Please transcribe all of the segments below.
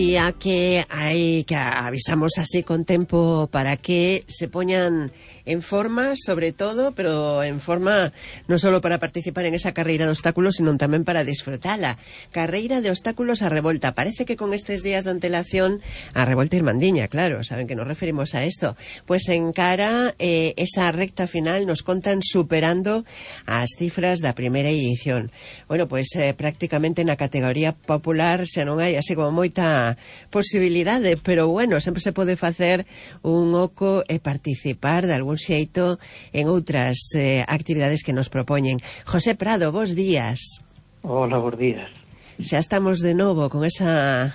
Y a que avisamos así con tempo para que se poñan en forma, sobre todo, pero en forma non solo para participar en esa carreira de obstáculos, sino tamén para disfrutala. Carreira de obstáculos a Revolta. Parece que con estes días de antelación a Revolta Irmandiña, claro, saben que nos referimos a esto. Pues en cara esa recta final nos contan superando as cifras da primeira edición. Bueno, pues prácticamente na categoría popular xa non hai así como moita posibilidade, pero bueno, sempre se pode facer un oco e participar de algún xeito en outras actividades que nos propoñen. José Prado, bos días. Hola, bos días. Xa estamos de novo con esa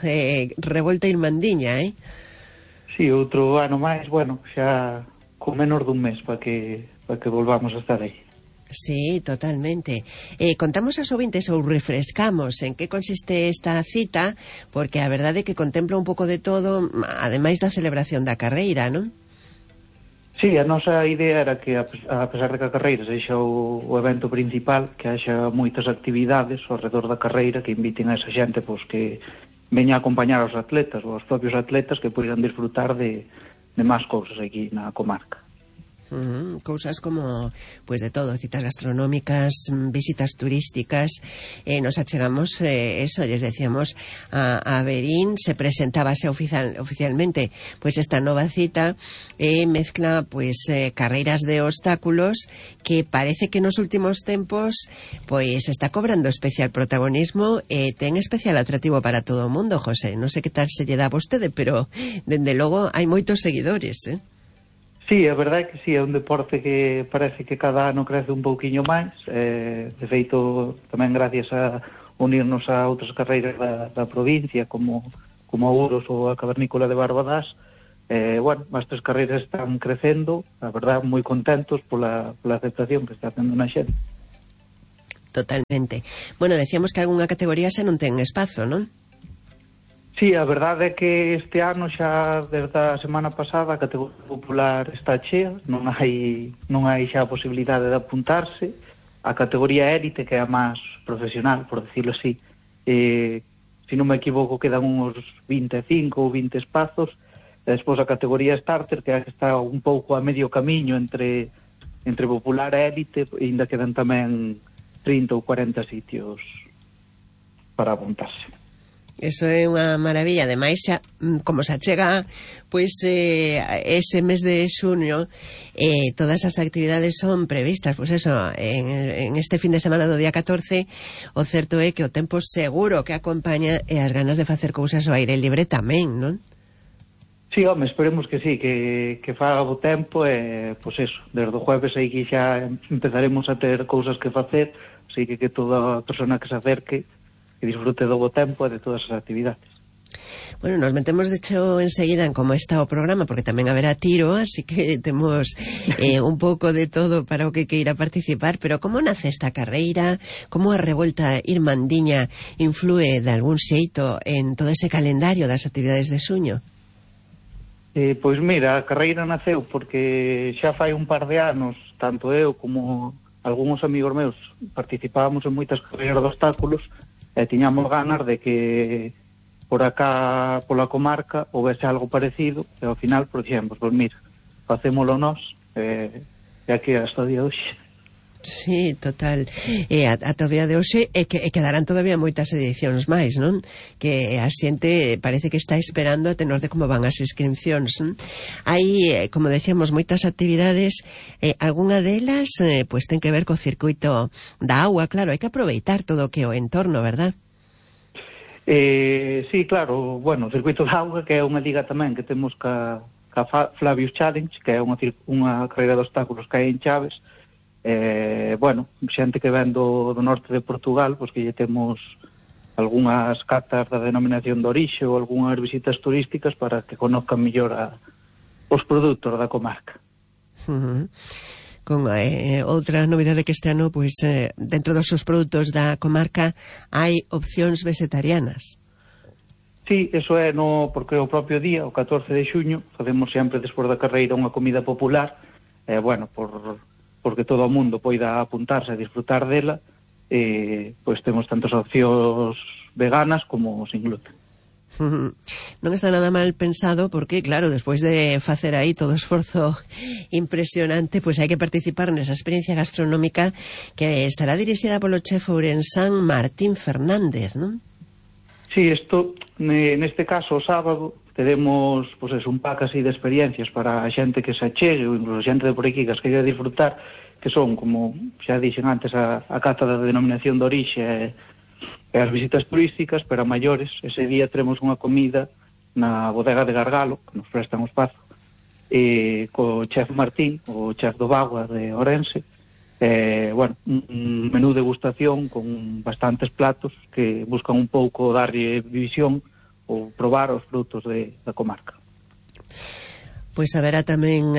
Revolta Irmandiña, Sí, outro ano máis, bueno, xa con menos dun mes para que volvamos a estar aí. Sí, totalmente. Contamos aos ouvintes ou refrescamos en que consiste esta cita, porque a verdade é que contempla un pouco de todo, ademais da celebración da carreira, non? Sí, a nosa idea era que, a pesar de que a carreira sexa o evento principal, que haxa moitas actividades ao redor da carreira que inviten a esa xente pois, que veña a acompañar aos atletas ou aos propios atletas que poidan disfrutar de máis cousas aquí na comarca. Cousas como, pues de todo, citas gastronómicas, visitas turísticas. Nos achegamos, eso, les decíamos a Verín, se presentábase oficialmente pues esta nova cita, mezcla pues carreiras de obstáculos que parece que nos últimos tempos pues está cobrando especial protagonismo, ten especial atractivo para todo o mundo, José. Non sei que tal se lle dá a vostede, pero dende logo hai moitos seguidores, Sí, a verdade é que sí, é un deporte que parece que cada ano crece un pouquiño máis, de feito tamén gracias a unirnos a outras carreiras da provincia como a Ouros ou a Cavernícola de Barbadás. Bueno, as tres carreiras están crecendo, a verdade, moi contentos pola aceptación que está tendo na xente. Totalmente. Bueno, decíamos que algunha categoría xa non ten espazo, non? Sí, a verdade é que este ano xa desde a semana pasada a categoría popular está chea, non hai xa a posibilidade de apuntarse. A categoría élite, que é a máis profesional, por decirlo así, se non me equivoco quedan uns 25 ou 20 espazos. E despois a categoría starter, que está un pouco a medio camiño entre popular e élite, e ainda quedan tamén 30 ou 40 sitios para apuntarse. Eso é unha maravilla. Ademais, xa, como se achega pois ese mes de xuño, todas as actividades son previstas, pois eso, en este fin de semana do día 14. O certo é que o tempo seguro que acompaña e as ganas de facer cousas ao aire libre tamén, non? Sí, home, esperemos que sí, que faga bo tempo e, pois eso, desde o jueves aí que xa empezaremos a ter cousas que facer, así que toda a persona que se acerque que disfrute do bo tempo e de todas as actividades. Bueno, nos metemos de hecho enseguida en como está o programa, porque tamén haberá tiro, así que temos un pouco de todo para o que queira participar. Pero como nace esta carreira, como a Revolta Irmandiña inflúe de algún xeito en todo ese calendario das actividades de xuño? Pois mira, a carreira naceu porque xa fai un par de anos, tanto eu como algúns amigos meus participábamos en moitas carreiras de obstáculos e tiñamos ganas de que por acá, pola comarca, houvese algo parecido, e ao final, por exemplo, pois mira, facémolo nós, e aquí hasta o día de hoxe. Sí, total. Ata o día de hoxe quedarán todavía moitas edicións máis, non? Que a xente parece que está esperando a tenor de como van as inscripcións, non? Hai, como decíamos, moitas actividades, algunha delas pues ten que ver co circuito da agua, claro, hai que aproveitar todo o que é o entorno, verdad? Sí, claro, bueno, o circuito da auga, que é unha liga tamén que temos ca Flavius Challenge, que é unha carreira de obstáculos que hai en Chaves. Bueno, xente que ven do norte de Portugal, pois que lle temos algunhas cartas da denominación de orixe ou algunhas visitas turísticas para que conozcan mellor os produtos da comarca. Con outra novidade que este ano, pois dentro dos seus produtos da comarca hai opcións vegetarianas. Sí, eso é porque o propio día, o 14 de xuño, facemos sempre despois da carreira unha comida popular, bueno, porque todo o mundo poida apuntarse a disfrutar dela, pois temos tantas opcións veganas como sin gluten. Non está nada mal pensado porque, claro, despois de facer aí todo o esforzo impresionante, pois hai que participar nesa experiencia gastronómica que estará dirixida polo chef ourensán Martín Fernández, non? Sí, isto, neste caso, o sábado, teremos pues, un pack así de experiencias para a xente que se achegue, ou incluso a xente de por aquí que as queira disfrutar, que son, como xa dixen antes, a cata da denominación de orixe e as visitas turísticas, pero a maiores, ese día teremos unha comida na bodega de Gargalo, que nos prestan o espazo, co chef Martín, o chef do Bagua de Ourense, bueno, un menú de degustación con bastantes platos que buscan un pouco darlle visión ou probar os frutos da comarca. Pois haberá tamén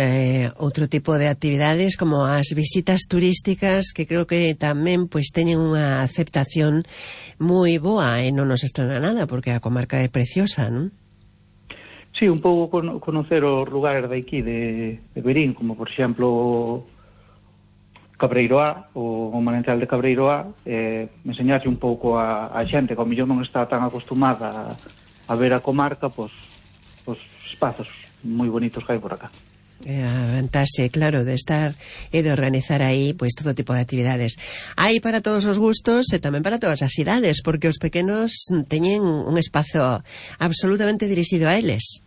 outro tipo de actividades como as visitas turísticas que creo que tamén pois teñen unha aceptación moi boa e non nos estrana nada porque a comarca é preciosa, non? Sí, un pouco conocer os lugares de aquí de Verín, como por exemplo Cabreiroá, o manantial de Cabreiroá, enseñarse un pouco a xente que ao mellor non está tan acostumada a ver a comarca, pois espazos moi bonitos que hai por acá. A vantaxe, claro, de estar e de organizar aí pois todo tipo de actividades. Hai para todos os gustos e tamén para todas as idades, porque os pequenos teñen un espazo absolutamente dirixido a eles.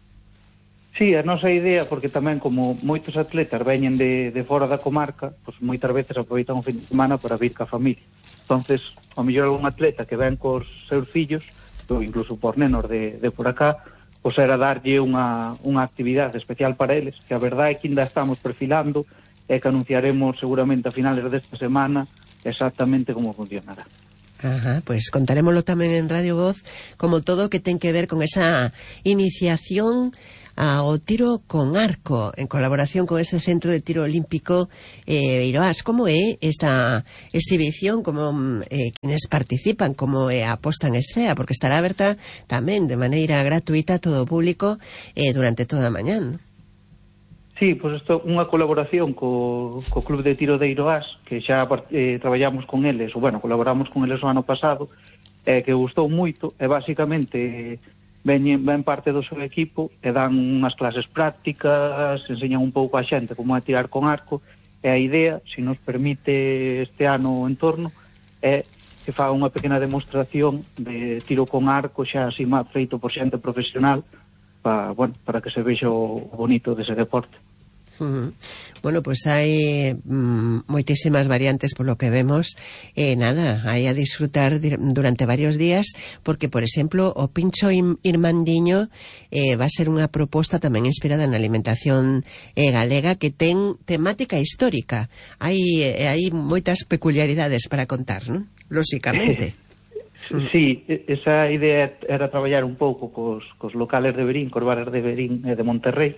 Sí, a nosa idea, porque tamén como moitos atletas veñen de fora da comarca, pois moitas veces aproveitan o fin de semana para vir ca familia. Entonces, ao mellor algún atleta que ven cos seus fillos, ou incluso por nenos de por acá, pois era darlle unha actividade especial para eles, que a verdade é que ainda estamos perfilando e que anunciaremos seguramente a finales desta semana exactamente como funcionará. Ajá, pois contarémoslo tamén en Radio Voz, como todo que ten que ver con esa iniciación ao tiro con arco, en colaboración con ese Centro de Tiro Olímpico Eiroás. Como é esta exhibición, como quienes participan, como a posta en escena, porque estará aberta tamén de maneira gratuita a todo o público durante toda a mañá, non? Sí, pois isto é unha colaboración co Club de Tiro de Eiroás, que xa traballamos con eles, ou bueno, colaboramos con eles o ano pasado, que gustou moito, e basicamente ven parte do seu equipo e dan unhas clases prácticas, enseñan un pouco a xente como é tirar con arco, e a idea, se nos permite este ano o entorno, é que faga unha pequena demostración de tiro con arco xa así feito por xente profesional para que se vexa o bonito dese deporte. Bueno, pues hai moitísimas variantes polo que vemos nada, hai a disfrutar durante varios días porque, por exemplo, o pincho irmandiño va a ser unha proposta tamén inspirada na alimentación galega que ten temática histórica. Hai moitas peculiaridades para contar, non? Lóxicamente. Sí, esa idea era traballar un pouco cos locales de Verín, cos bares de Verín e de Monterrey,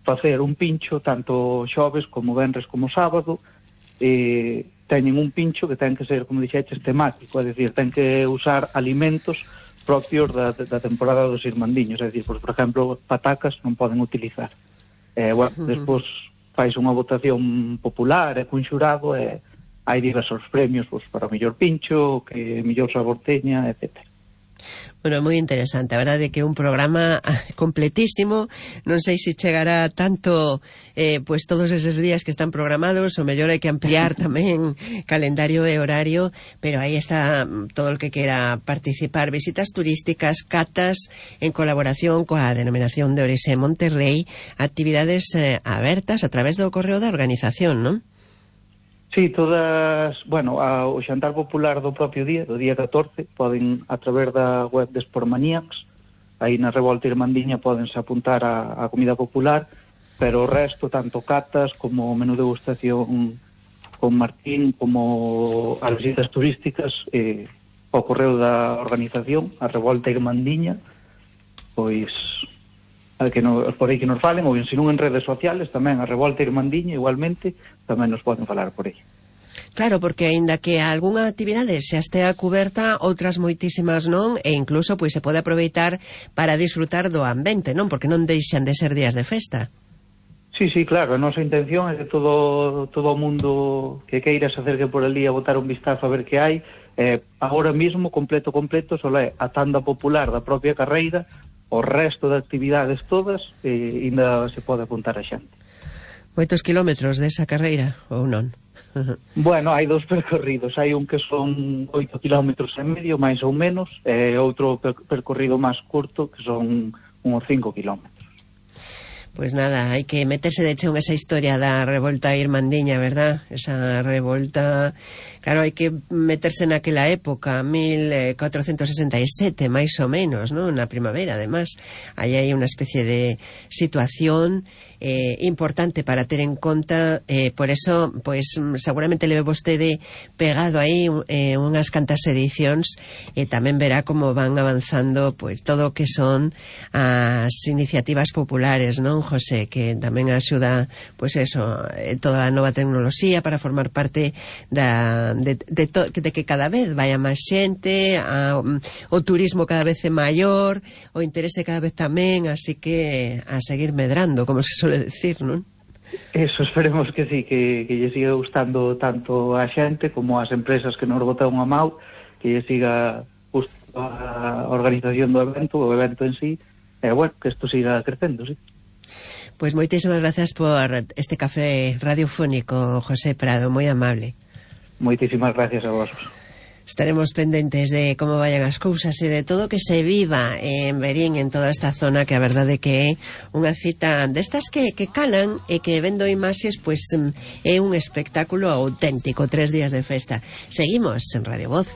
facer un pincho tanto xoves como venres como sábado. Teñen un pincho que ten que ser, como dixeches, temático, é dicir, ten que usar alimentos propios da temporada dos irmandiños, é dicir, por exemplo, patacas non poden utilizar. Despois fais unha votación popular e cun xurado e hai diversos premios para o mellor pincho, que mellor sabor teña, etcétera. Bueno, moi interesante, a verdade que é un programa completísimo, non sei se chegará tanto pois todos eses días que están programados, o mellor hai que ampliar tamén calendario e horario, pero aí está todo o que quera participar, visitas turísticas, catas en colaboración coa denominación de Orixe Monterrey, actividades abertas a través do correo da organización, non? Sí, todas, bueno, o xantar popular do propio día, do día 14, poden, a través da web de Sportmaníacs, aí na Revolta Irmandiña podense apuntar a comida popular, pero o resto, tanto catas como menú degustación con Martín, como as visitas turísticas, o correo da organización, a Revolta Irmandiña, pois por aí que nos falen, ou se non en redes sociales tamén a Revolta Irmandiña igualmente tamén nos poden falar por aí. Claro, porque aínda que algunha actividade xa estea cuberta, outras moitísimas non, e incluso pois se pode aproveitar para disfrutar do ambiente, non? Porque non deixan de ser días de festa. Sí, claro, a nosa intención é que todo o mundo que queira se acerque por ali a botar un vistazo a ver que hai, Agora mesmo, completo, só é a tanda popular da propia carreira, o resto de actividades todas, ainda se pode apuntar a xente. Moitos kilómetros desa carreira, ou non? Bueno, hai 2 percorridos, hai un que son 8 kilómetros e medio, máis ou menos, e outro percorrido máis curto, que son uns 5 kilómetros. Pois nada, hai que meterse de cheo en esa historia da revolta irmandiña, verdad? Esa revolta, claro, hai que meterse naquela época, 1467, máis ou menos, ¿no? Na primavera, además. Aí hai unha especie de situación importante para ter en conta, por eso, pois, seguramente leve vostede pegado aí unhas cantas edicións, e tamén verá como van avanzando, pois, todo o que son as iniciativas populares, non, José, que tamén axuda, pois eso, toda a nova tecnoloxía para formar parte de que cada vez vaya máis xente, o turismo cada vez é maior, o interese cada vez tamén, así que a seguir medrando, como se suele decir, non? Eso, esperemos que sí, que lle siga gustando tanto a xente como as empresas que nos botan a mau, que lle siga gustando a organización do evento, o evento en sí, e bueno, que isto siga crecendo, sí. Pois moitísimas gracias por este café radiofónico, José Prado, moi amable. Moitísimas gracias a vos. Estaremos pendentes de como vayan as cousas e de todo que se viva en Verín, en toda esta zona, que a verdade que é unha cita destas que calan e que vendo imaxes, pois é un espectáculo auténtico, 3 días de festa. Seguimos en Radio Voz.